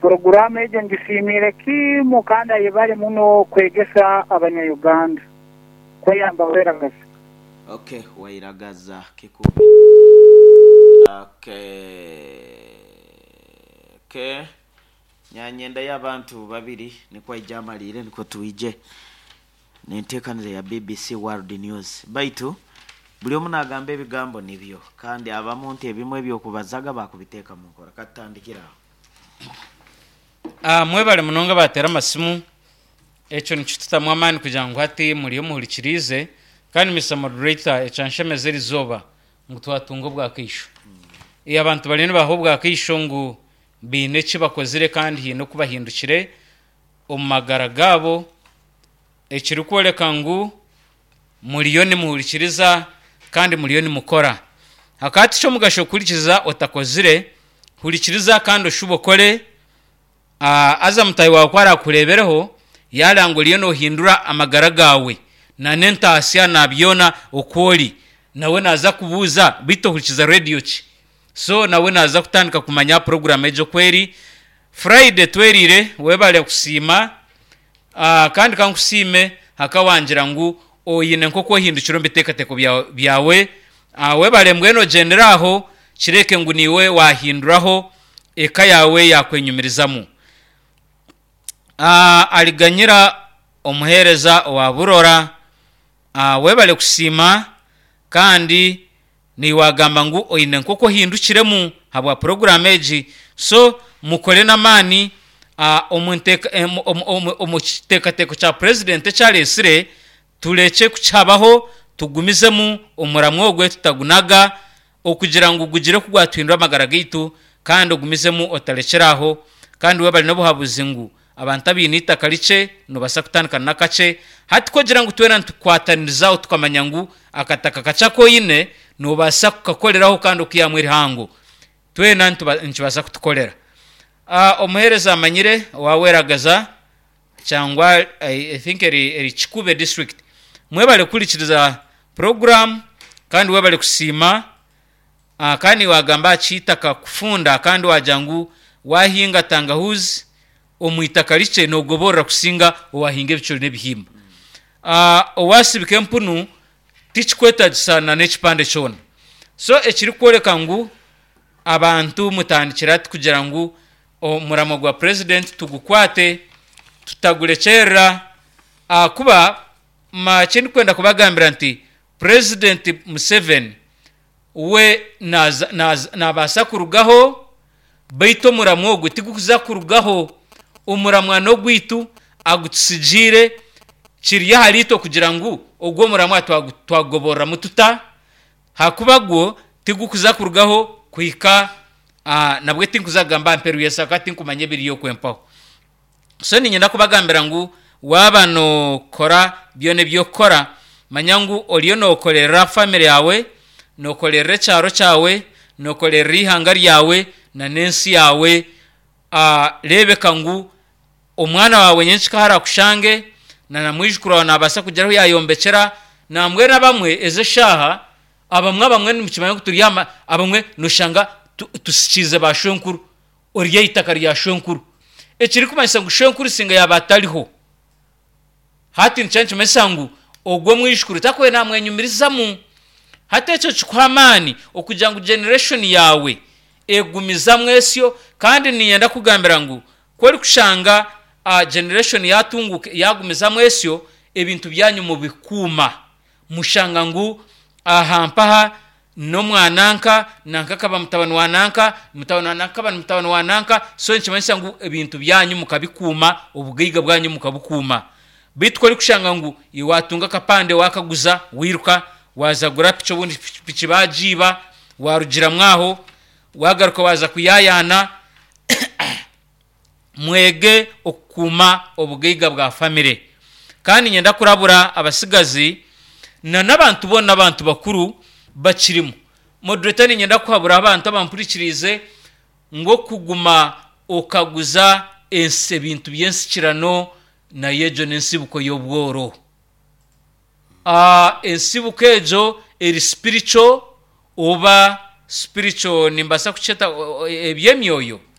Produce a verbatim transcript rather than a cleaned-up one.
Puroguraamu egyo ngisiimiire kimu kandi ayebare muno kwegesa abanya-Uganda kweyamba weragaza. Okay, wairagaza Kikubi. Okay. Okay. Nyanyenda y'abantu babiri nikwo aija amaliire nikwo twije nenteekanire ya B B C World News. Baitu buli omu nagamba ebigambo nibyo, kandi abamu nti ebimwe ebyokubazaga bakubiteeka mu nkora. Katutandikira aho. Ah, mwebale munonga batera amasimu. Ekyo nikitutamu amaani kugira ngu hati muri omuhurikirize. Kandi Mister Moderator, ekyanshemeza erizooba ngu twatunga obwakaisho. E, abantu bariyo nibaha obwakaisho ngu biine eki bakozire kandi haine oku bahindukire omu magara gaabo, ekirikworeka ngu muriyo nimuhurikiriza kandi muriyo nimukora. Hakaba tikyomugasho kuhurikiza otakozire. Hurikiriza kandi oshube okore. Ah, aza mutahi wawe ku arakurebereho yaranga oriyo nohindura amagara gawe na n'entaasya na byona okwori, nawe naza kubuuza, "Beitu ohurikiza rediyo ki?" So nawe naza kutandika kumanya program egyo kweri. Friday twerire, webale kusiima. Ah, kandi kankusiime hakawangira ngu oyine nk'oku ohindukire omu biteekateeko byawe, byawe. Ah, webale. Mbwenu ogyendere aho, kireke ngu niiwe wahinduraho eka yawe yakwenyumirizamu. Ah, aliganyira omuheereza owa Burora, ah, webale kusiima kandi niwagamba ngu oine nk'oku ohindukiremu habwa poroguramu egi. So mukore n'amaani ah, omu nteeka- em- omu- omu- omu kiteekateeko kya purezidenti ekyareesire turekye kukihabaho, tugumizemu omuramwa ogwe tutagunaga okugira ngu gugire ku gwatuhindura amagara gaitu. Kandi ogumizemu otarekyera aho. Kandi webale n'obuhabuzi ngu abantu abaine eitaka rikye nobaasa kutandika n'akakye. Hati kugira ngu twena nitukwatanirizaho, tukamanya ngu akataka kakye akoine nobaasa kukakoreraho kandi okihamu erihango, twena nituba- nikibaasa kutukorera. Ah, omuheereza amanyire owaweragaza cyangwa I, I think eri, eri Kikube District, mwebale kuhurikiriza program kandi webale kusiima. uh, kandi wagamba aha kitaka kufunda, kandi wagira ngu wahinga tangahuzi omu itaka rikye nogoborora kusinga owahinga ebicuri n'ebihimba. uh, owasibika empunu tikikwetagisana n'ekipande kyona. So ekirikworeka ngu abantu mutandikira ati kugira ngu omuramo gwa president tugukwate tutagurekyerera, ahakuba ma kindikwenda kubagambira nti President Museveni we naza- naza- nabaasa kurugaho, baitu omuramwa ogwe tigukuza kurugaho. Omuramwa n'ogwitu agutusigiire, kiri ahari itwe kugira ngu ogwo omuramwa twagu- twagugoboreramu tuta, hakuba gwo tigukuza kurugaho kuhika ah, nabwe tinkuza kugamba mperu yesaka, tinkumanya ebiriyo kwempaho. So ninyenda kubagambira ngu waaba nokora byona ebyokukora, manya ngu oriyo nokorera family yawe, nokorera ekyaro kyawe, nokorera ihanga ryawe na n'ensi yawe. uh, rebeka ngu omwana wawe nyenkika harakushange na na mwijukuru wawe nabaasa kugira ahu yayombekyera. Nambwenu abamwe ezi eshaaha abamwe abamwe nimukimanya ngu turi ama abamwe noshanga tu- tusikiize ba shwenkuru, ori eitaka rya shwenkuru, ekirikumanyisa ngu shwenkuru singa yaba atariho hati, nikyo nikimanyisa ngu ogwo mwijukuru takubaire namwenyumirizamu. Hati ekyo kikuha amaani okugira ngu generation yawe egumizamu esyo. Kandi ninyenda kugambira ngu ku orikushanga uh, generation yatunguka yagumizamu esyo, ebintu byanyu mubikuuma, mushanga ngu aha mpaha n'omwananka nanka akaba mutabani wa nanka, mutabani wa nanka akaba ni mutabani wa nanka. So nikimanyisa ngu ebintu byanyu mukabikuuma, obugaiga bwanyu mukabukuuma. Beitu ku orikushanga ngu iwe watunga akapande wakaguza, wiruka waza gura piki, obundi piki bagiiba, warugiramu aho wagaruka waza kuyayaana. Mwege okukuuma obugaiga bwa famire. Kandi nyenda kurabura abasigazi na n'abantu boona, abantu bakuru bakirimu. Moderator, ninyenda kuhabura abantu abampurikiriize ngu okuguma okaguza ensi ebintu by'ensikirano nayo egyo n'ensibuko y'obworo. Ah, ensibuko egyo eri spiritual oba spiritual nimbaasa kukyeta o- o- eby'emyoyo.